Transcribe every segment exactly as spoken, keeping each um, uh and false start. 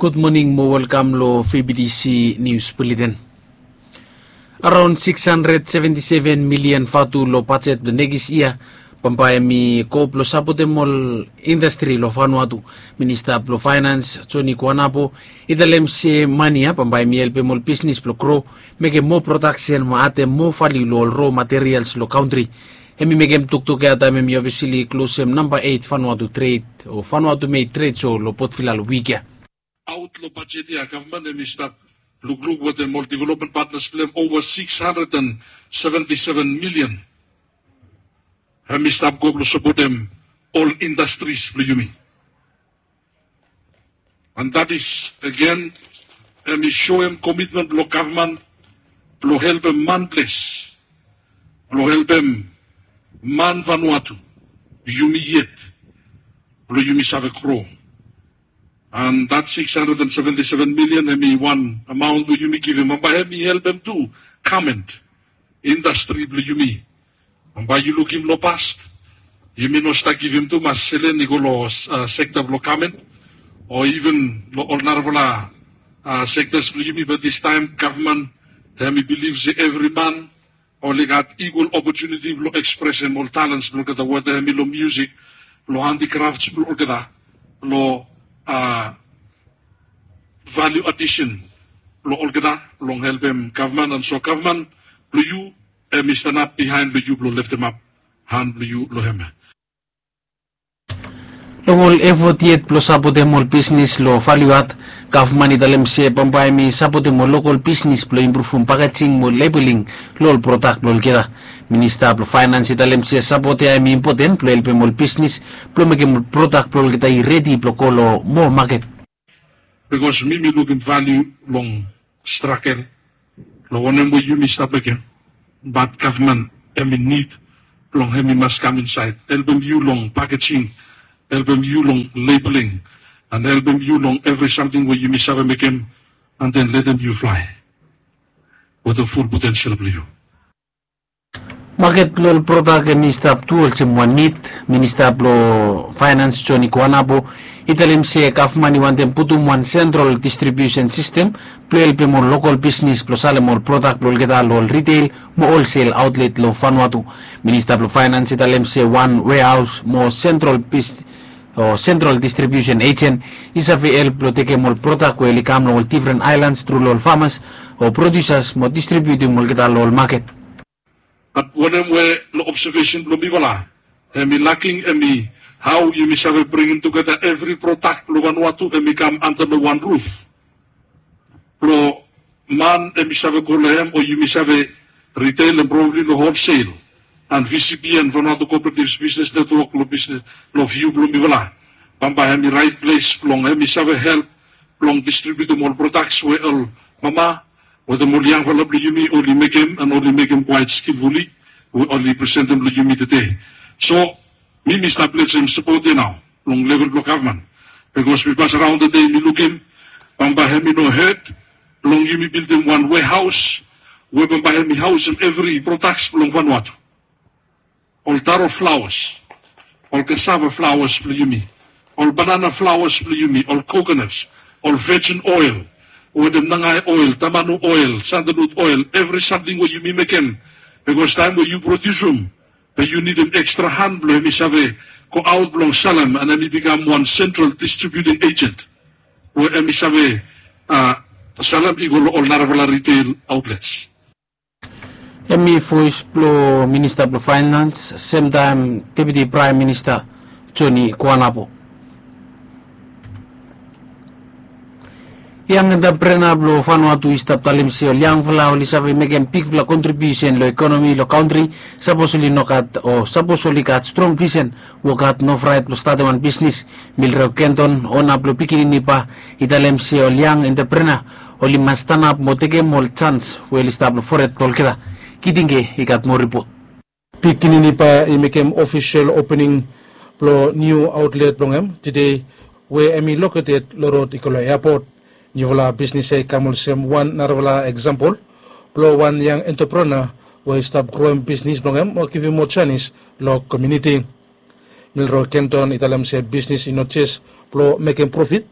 Gud moning mo welkam lo V B T C Nius Buleten. Araon sikis handred seventi seven milian vatu lo bajet blo nekis yia bambae hemi go blo sapotem ol indastri lo Vanuatu. Minista blo Faenans Joni Kuanapo i talem se mane ya bambae hemi helpem ol bisnis blo gro, mekem moa prodaksen mo adem moa valiu lo ol ro materials lo kantri. Hemi mekem toktok ya taem hemi ofisili klosem namba eit Vanuatu tred o Vanuatu med tred so lo Port Vila lo wik ya. Aot lo bajet ya gavman hemi stap lukluk wetem ol development partners blong hem ova sikis handred and seventi seven milian. Hemi stap go blo sapotem ol indastris blo yumi. And that is again hemi soem komitmen blo gavman blo helpem man ples, blo helpem man Vanuatu, yumi yet, blo yumi save gro. And that sikis handred and seventi seven milian hemi wan amaon we yumi givim bambae hemi helpem tu gament indastri blo yumi. Bambae yu lukim lo past yumi no stap givim tumas selen i go lo sekta blo gament o iven lo ol narafala sektas blo yumi, bat distaem gavman hemi bilif se evri man oli gat igual opotuniti blo ekspresem ol talens blo olgeta, weta hemi lo miusik, lo handikrafts blo olgeta, lo valiu adisen blo olgeta, long helpem gavman. And so gavman blo yu hemi stanap bihaen blo yu blo leftemap han blo yu lo hem. Long ol efot yet blo sapotem ol bisnis lo valiu ad, gavman i talem se bambae hemi sapotem ol lokol bisnis blo impruvum pakejing mo lebeling lo ol prodak blo olgeta. Minista blo Faenans i talem se sapot ya hemi impoten blo helpem ol bisnis blo mekem ol prodak blo olgeta i redi blo go lo moa maket. Bikos mi mi lukim valiu long stragel, long wanem we yumi stap mekem, bat gavman hemi nid blong hemi mas kam insaed helpem yu long pakejing, helpem yu long lebeling, and helpem yu long evri samting we yumi save mekem, and then letem yu flae wetem ful potensel blo yu. Maket blo ol prodak hemi stap tu olsem wan nid. Minista blo Faenans Joni Kuanapo i talem se gavman i wantem putum wan sentral distribiusen sistem blo helpem ol lokol bisnis blo salem ol prodak blo olgeta lo ol riteil mo olsel aotlet lo Vanuatu. Minista blo Faenans i talem se wan wehaos mo sentral bis o sentral distribiusen ejen i save help blo tekem ol prodak we oli kam long ol difren aelans tru lo ol famas o prodiusas mo distribiutim olgeta lo ol maket. Bat wanem we long obsevesen blong mifala hemi laking hemi hao yumi save bringim tugeta evri prodak blong Vanuatu hemi kam anta long wan ruf blong man hemi save go long hem o yumi save riteil and probably long holsel. And V C B and Vanuatu Cooperatives Business Network long bisnes long viu blong mifala bambae hemi raet ples blong hemi save help blong distribiutim ol prodaks we ol mama wetem ol yangfala blong yumi oli mekem and oli mekem kwaet skilfuli we oli presentem long yumi tede. So mi mi stap letem sapot ya nao long level blong gavman, bikos mi pas raon tede mi lukim bambae hemi no het blong yumi bildim wan wehaos we bambae hemi haosem evri prodaks blong Vanuatu. Ol taro flaoas, ol kasava flaoas blong yumi, ol banana flaoas blong yumi, ol kokonas, ol vejin oel wetem nangae oel, tamanu oel, sandalut oel, evri samting we yumi mekem. Bikos taem we yu prodiusum be yu nidim ekstra han blong hemi save goaot blong salem and hemi bikam wan sentral distribiuting ejen we hemi save salem i go long ol narafala riteil aotlets. Hemi voes blong minista blong faenans semtaem deputi praem minista Joni Kuanapo. Yang entreprena blong Vanuatu i stap talem se ol yangfala oli save mekem bigfala kontribiusen long ekonomi long kantri. Sapos oli no gat o sapos oli gat strong visen, wok had, no fraet blong statem wan bisnis. Milreo Kenton, ona blong pikinini ba, i talem se ol yang entreprena oli mas stanap mo tekem ol jans we oli stap long fored blong olgeta. Kitinge i gat moa ripot. Pikinini ba i mekem ofisel opening blong niu aotlet blong hem tede, we hemi loketed long rod i go long eapot. Niufala bisnis ya i kam olsem wan narafala eksampol blong wan yang entreprena we i stap groem bisnis blong hem o givim moa janis long komuniti. Milreo Kenton i talem se bisnis i no jes blong mekem profit,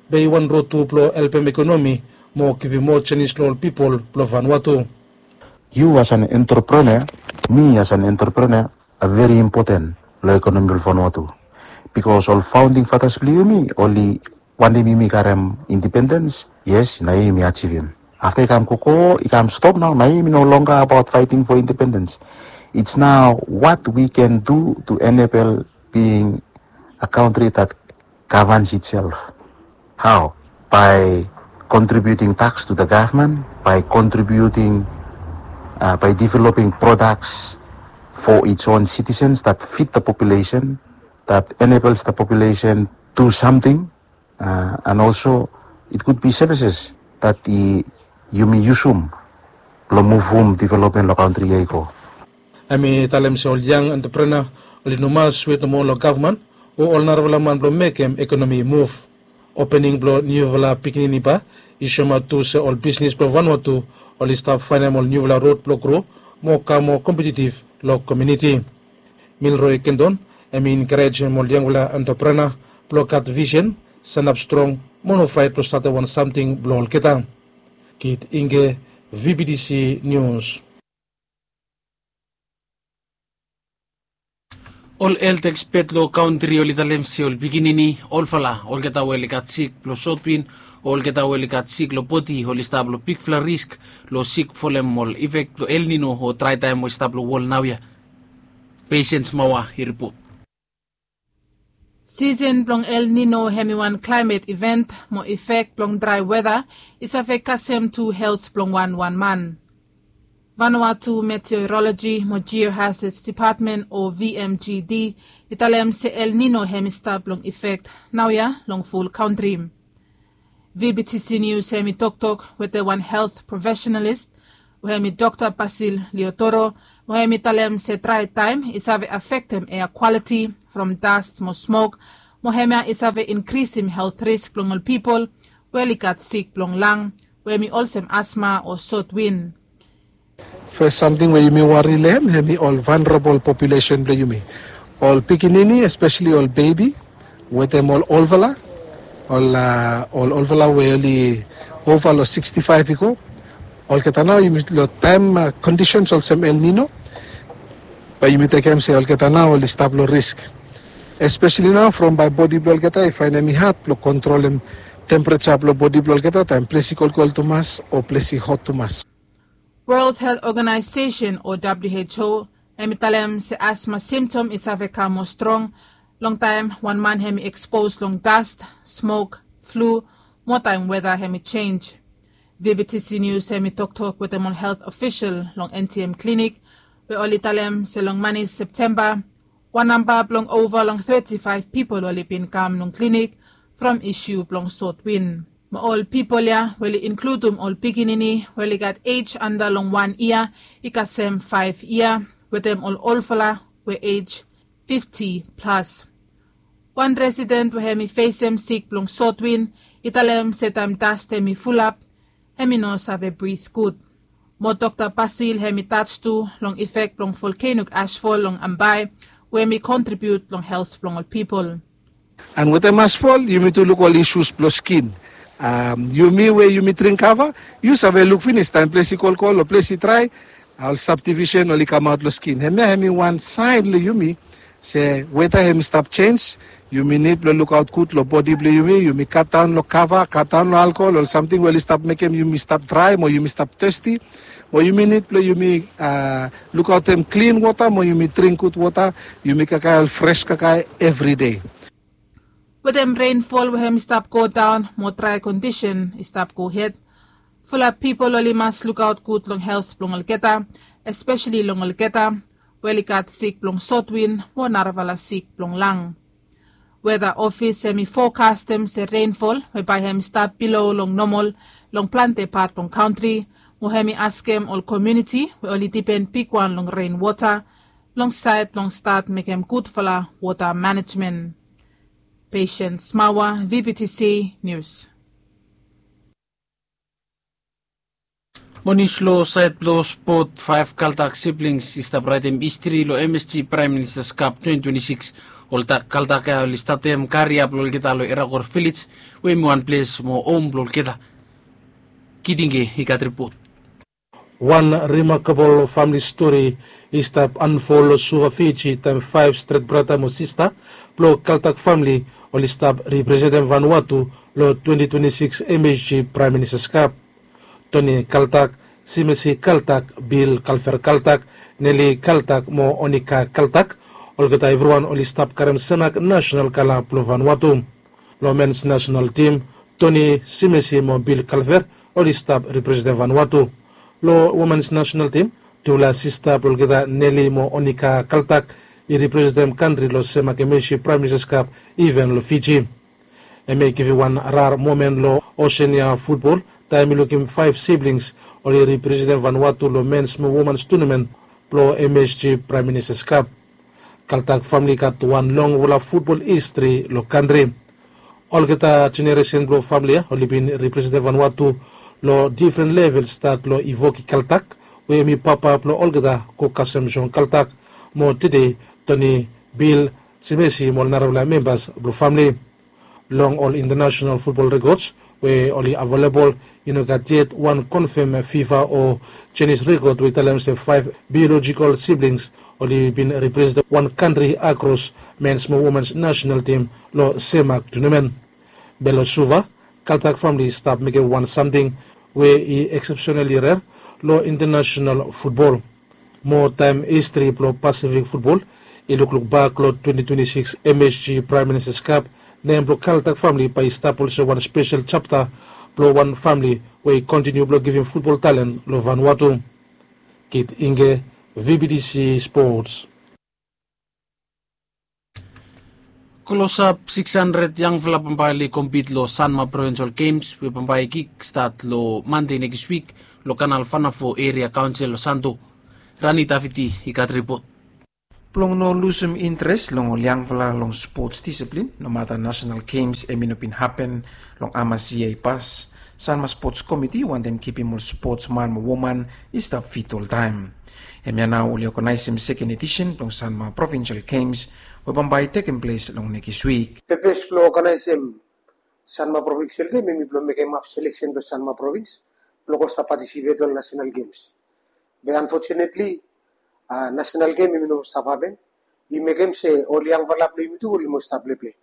Be i wan rod tu blong helpem ekonomi mo givim moa janis long ol pipol blong Vanuatu. Yu as an entrepreneur, mi as an entrepreneur, a very important long ekonomi blong Vanuatu. Bikos ol founding fathers blong yumi oli wantem yumi karem independens, yes, nao yumi ajivim. Afta i kam gogo, i kam stop nao, nao yumi no longer about fighting for independence. It's now what we can do to enable being a country that governs itself. How? By contributing tax to the government, by contributing, uh, by developing products for its own citizens that fit the population, that enables the population do something, uh, and also it could be services that i yumi yusum blong muvum development long kantri ya i go. Hemi talem se ol yang entrepreneur oli no mas wet nomo long gavman o ol narafala man blong mekem ekonomi i muv. Opening blong niufala pikinini ba i soemaot tu se ol bisnis blong Vanuatu oli stap faenem ol niufala rod blong gro mo kam moa kompetitiv long komuniti. Milroy Kendon hemi enkarejem ol yangfala entrepreneur blong gat visen, sanap strong mo no fraet blong statem wan samting blong olgeta. Kit Inge, V B T C News. Ol helt ekspet long kantri oli talem se ol pikinini, olfala, olgeta we oli gat sik blong sotwin o olgeta we oli gat sik long bodi oli stap long bigfala risk long sik folem ol ifek blong El Nino o draetaem we i stap long wol naoia. Pesen Smaoa i ripot. Sisen blong El Nino hemi wan klaemet iven mo ifek blong drae weta i save kasem tu helt blong wanwan man. Vanuatu Meteorology mo Geohazards Department o V M G D i talem se El Nino hemi stap long ifek naoia long ful kantri. V B T C News hemi toktok wetem wan helt profesionalis we hemi Dokta Basil Leotoro, we hemi talem se draetaem i save afektem ea kwaliti from dast mo smok, mo hemia i save inkrisim helt risk blong ol pipol we oli gat sik blong lang, we hemi olsem asma o sotwin. Fes samting we yumi wari long hem hemi ol vulnerable populesen blong yumi. Ol pikinini, espeseli ol bebi, wetem ol olfala, ol, a, ol olfala we oli ova long sikstifaef i go. Olgeta nao yumi long taem, a, kondisens olsem El Nino, bae yumi tekem se olgeta nao oli stap long risk. Espeseli nao from bae bodi blong olgeta i faenem i had blong kontrolem tempereja blong bodi blong olgeta taem ples i kolkol tumas o ples i hot tumas. World Health Organization o W H O hemi talem se asma simtom i save kam moa strong longtaem wan man hemi ekspos long dast, smok, flu, mo taem weta hemi jenj. V B T C News hemi toktok wetem ol helt ofisol long N T M klinik, we oli talem se long mane Septemba, wan namba blong ova long teti faef pipol oli bin kam long klinik from isu blong sotwin. Mo ol pipol ya we oli inkludum ol pikinini we oli gat ej anda long wan yia i kasem faef yia, wetem ol olfala we ej fifti plas. Wan residen we hemi fesem sik blong sotwin i talem se taem dast hemi fulap, hemi no save brit gud. Mo Dokta Basil hemi tach tu long ifek blong volkenok asfol long Ambae, we hemi kontribiut long helt blong ol pipol. An wetem asfol yumi tu luk ol isus blong skin. Am, yumi we yumi dring kava, yu save luk finis taem ples i kolkol o ples i drae, ol sabdivisen oli kamaot long skin. Hemia hemi wan saen long yumi se weta hemi stap jenj. Yumi nid blong lukaot gud long bodi blong yumi. Yumi katdaon long kava, katdaon long alkohol, ol samting we oli stap mekem yumi stap drae mo yumi stap testi. Mo yumi nid blong yumi, a, lukaotem klin wota mo yumi dring gud wota. Yumi kakae ol fres kakae evri dei. Wetem renfol we hemi stap godaon mo drae kondisen i stap gohed, fulap pipol oli mas lukaot gud long helt blong olgeta, espeseli long olgeta we oli gat sik blong sotwin mo narafala sik blong lang. Weta ofis hemi fokastem se renfol we bae hemi stap bilo long nomol long plante pat blong kantri, mo hemi askem ol komuniti we oli dipen bigwan long renwota long saed blong stat mekem gudfala wota manejmen. Patience Mawa, V B T C News. Mo nius long saed blong spot, faef Kaldak siblings i stap raetem histri long M S G Prime Minister's Cup twenty twenty-six Ol kaltak ya oli statem karia blong olgeta long Erakor Vilej, we hemi wan ples mo hom blong olgeta. Kitinge i gat ripot. Wan rimakabol famili stori i stap anfol long Suva, Fiji, taem faef stret brata mo sista blong kaltak famili oli stap representem Vanuatu long twenti twenti sikis M H G Praem Ministas Kap. Toni Kaltak, Simesi Kaltak, Bil Kalfer Kaltak, Neli Kaltak mo Onika Kaltak, olgeta evriwan oli stap karem Semak nasenal kala blong Vanuatu. Long mens nasenal tim, Toni, Simesi mo Bil Kalfer oli stap representem Vanuatu. Long womens nasenal tim, tufala sista blong olgeta, Neli mo Onika Kaltak, i representem kantri long Semak M H G Praem Ministas Kap iven long Fiji. Hemi givim wan rar momen long Oseania futbol taem i lukim faef siblings oli representem Vanuatu long mens mo womens tunamen blong M H G Praem Ministas Kap. Kaltak famili i gat wan longfala futbol histri long kantri. Olgeta jeneresen blong famili ya oli bin representem Vanuatu long difren level, stat long Ivoki Kaltak, we hemi papa blong olgeta, go kasem Jon Kaltak, mo tede Toni, Bil, Simesi mo ol narafala membas blong famili. Long ol intanasenal futbol rekods we oli avelebol, i no gat yet wan konfam FIFA o Chinese rekod we i talem se faef biolojikol siblings oli bin representem wan kantri akros mens mo womens nasenal tim long Semak tunamen. Be long Suva, Kaltak famili i stap mekem wan samting we i eksepsenali rer long intanasenal futbol. Moa taem histri blong Pasifik futbol i lukluk bak long twenti twenti sikis M H G Praem Ministas Kap, nem blong Kaltak famili bae i stap olsem wan spesel japta blong wan famili we i kontiniu blong givim futbol talen long Vanuatu. Kitinge, V B T C Sports. Klosap sikis handred yangfala bambae oli kompit long Sanma Provinsel Gems we bambae i kikstat long Mande nekis wik long Kanal Vanafo Eria Kaonsel long Santo. Rani Taviti i gat ripot. Blong no lusum interes long ol yangfala long spots disiplin, nomata Nasenal Gems hemi no bin hapen long hamas yia i pas, Sanma Spots Komiti wantem kipim ol spotsman mo woman i stap fit oltaem. Hemia nao oli oganaesem seken edisen blong Sanma Provinsel Gems we bambae i tekem ples long nekis wik. Pepes blong oganaesem Sanma Provinsel Gems hemi blong mekem haf seleksen blong Sanma Provins blong go stap patisipet long Nasenal Gems. Be anfotunetli, a, Nasenal Gems hemi no stap hapen. I mekem se ol yangfala blong yumi tu oli mo stap pleple.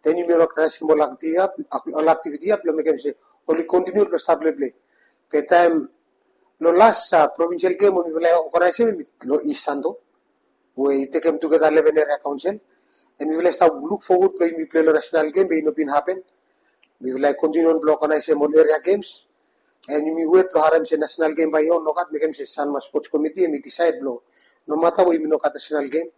Den yumi no oganaesem ol aktiviti ya, ol aktiviti ya blong mekem se oli kontiniu blong stap pleple. Be taem long las, a, Provinsel Gems we mifala i oganaesem hemi long East Santo, we i tekem tugeta leven eria kaonsel. An mifala i stap luk fowod blong yumi plei long Nasenal Gems be i no bin hapen. Mifala i kontiniu on blong oganaesem ol eria gems. An yumi wet blong harem se Nasenal Gems bae i on, nogat mekem se Sanma Spots Komiti hemi disaed blong nomata we yumi no gat Nasenal Gems,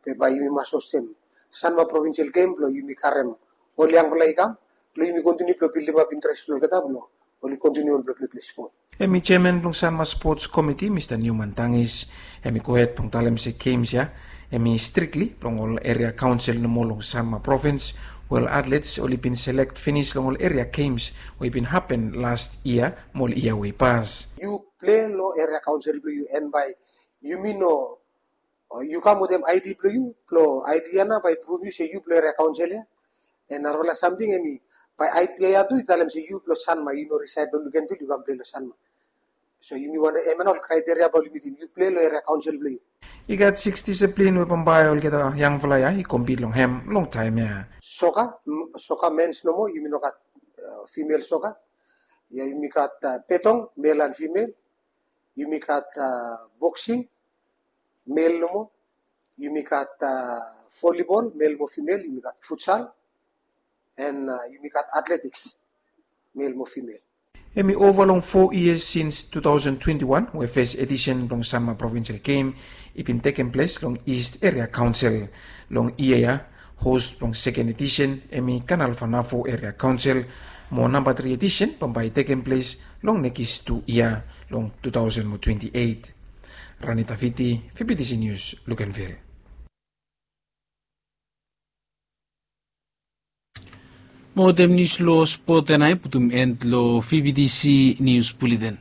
be bae yumi mas hostem Sanma Provinsel Gems blong yumi karem ol yangfala i kam blong yumi kontiniu blong bildimap interes blong olgeta blong oli kontiniu on blong pleple spot. Hemi jeaman blong Sanma Spots Komiti, Mista Newman Tangis, hemi gohed blong talem se gems ya hemi strikli blong ol eria kaonsel nomo long Sanma Provins, we ol atlets oli bin selek finis long ol eria gems we i bin hapen las yia mo ol yia we i pas. Yu plei long eria kaonsel blong yu, an bae yumi no, o, yu kam wetem ID blong yu, blong ID ya nao bae i pruv yu se yu blong eria kaonsel ya. An narafala samting hemi, bae ID ya tu i talem se yu blong Sanma, yu no risaed long Luganville, yu kam plei long Sanma. So yumi wantem, hemia nao ol kraeteria bae oli mitim, yu plei long eria kaonsel blong yu. I gat sikis disiplin we bambae olgeta yangfala ya i kompit long hem long taem ya. Soka, soka mens nomo, yumi no gat, a, fimel soka. Ya yumi gat, a, betong, mel an fimel. Yumi gat, a, boksing, mel nomo. Yumi gat, a, volibol, mel mo fimel. Yumi gat futsal. An, a, yumi gat atletiks, mel mo fimel. Hemi ova long fo yia sins tu taosen twenti wan we fes edisen blong Sanma Provinsel Gem i bin tekem ples long Ist Eria Kaonsel. Long yia ya, hos blong seken edisen hemi Kanal Vanafo Eria Kaonsel, mo namba tri edisen bambae i tekem ples long nekis tu yia, long tu taosen mo twenti eit. Rani Taviti, VBTC Nius, Luganville. Mo wetem nius long spot ya nao i putum en long VBTC Nius Buleten.